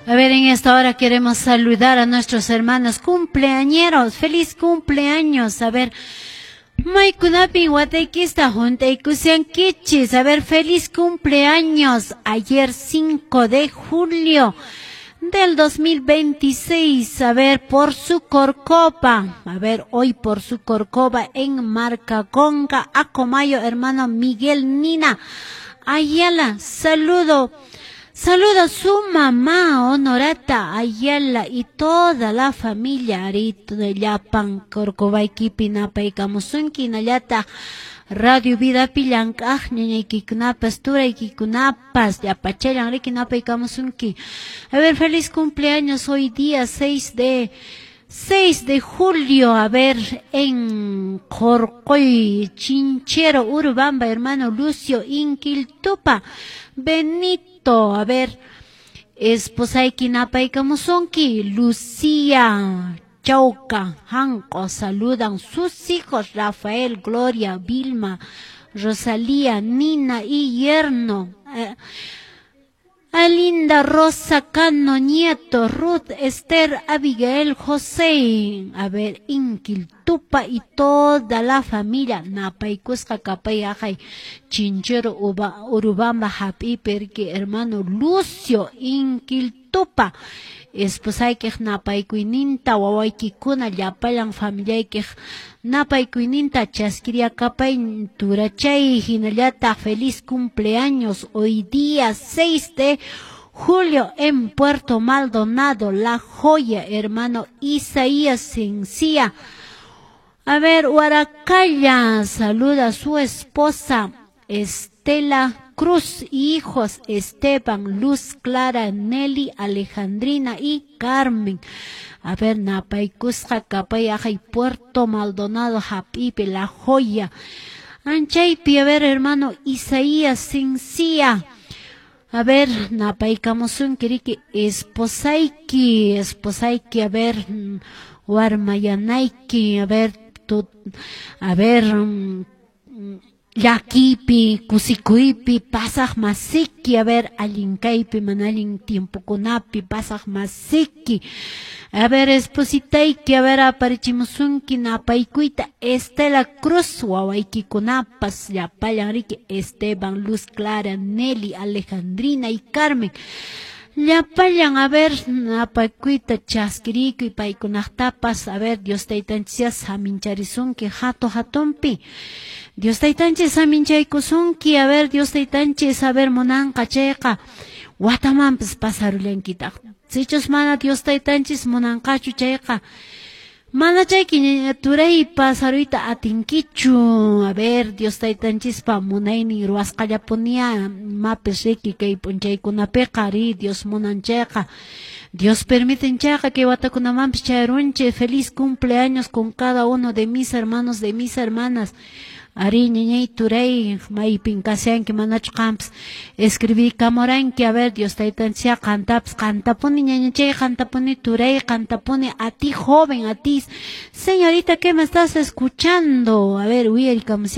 A ver, en esta hora queremos saludar a nuestros hermanos cumpleañeros. ¡Feliz cumpleaños! A ver, maykunapin wataykista hunt'aykushankichis. A ver, feliz cumpleaños. Ayer 5 de julio del 2026. A ver, por su corcopa. A ver, hoy por su corcoba en Marcaconga, Acomayo, hermano Miguel Nina. Ayala, saludo. Saluda a su mamá Honorata Ayala y toda la familia Arito de Llapan Corcovaykipi napaykamusunki hinallataq Radio Vidapi llank'aq ñañaykikunapas turaykikunapas llapachallan riki napaykamusunki. A ver, feliz cumpleaños hoy día 6 de julio, a ver, en Corcoy, Chinchero, Urubamba, hermano Lucio Inquiltupa, Benito, a ver, esposayki napaykamusunki, Lucía Chauca, Janco, saludan sus hijos, Rafael, Gloria, Vilma, Rosalía, Nina y yerno. Alinda Rosa Cano Nieto, Ruth, Esther, Abigail, José, a ver, Inquiltupa y toda la familia, Napaykusqa kapay ajay, Chinchero Uba, Urubamba hap'ipi hermano Lucio Inquiltupa, esposaykiq napaykuyninta wawaykikuna llapallan familiaykiq napaykuyninta chaskiriakapay turachay hinallataq feliz cumpleaños hoy día 6 de julio en Puerto Maldonado, La Joya, hermano Isaías Sencilla. A ver, Huaracaya saluda a su esposa Estela Cruz, hijos Esteban, Luz Clara, Nelly, Alejandrina y Carmen. A ver, napaykusqa kapay ajay Puerto Maldonado, hap'ipi, La Joya. Anchaypi, a ver, hermano Isaías Sencilla. A ver, napaykamusunki riki esposayki, esposayki, a ver, warmayanayki, a ver, tu, a ver, llakipi, kusikuypi, pasaq masiki, a ver, allin kaypi, mana allin tiempokunapi, pasaq masiki. A ver, espositayki, a ver, aparichimusunki napaykuyta, Estela Cruz, wawaykikunapas, llapallan riki, Esteban, Luz Clara, Nelly, Alejandrina y Carmen. Llapallan, a ver, napaykuyta chaskirikuy paykunaqtapas, a ver, Dios taytanchis samincharisunki hatu hatunpi. Dios taytanchis saminchaykusunki, a ver, Dios taytanchis, a ver, munanqa chayqa, watamanpas pasarullankitaq. Sichus mana Dios taytanchis munanqachu chayqa, mana chayki turay pasaruyta atinkichu. A ver, Dios taytanchispa munaynin ruwasqallapunia mapis riki kay p'unchaykunapiqa ri Dios munan chayqa. Dios permiten chayqa kay watakunamanpis chayrunchik. Feliz cumpleaños con cada uno de mis hermanos, de mis hermanas. Ari ñañay turay maypin kashanki manachu qampas escribiykamuranki. A ver, Dios taytanchis qantapas qantapuni ñañachay, qantapuni turay, qantapuni a ti joven, a ti señorita que me estás escuchando. A ver, uyarikamushani.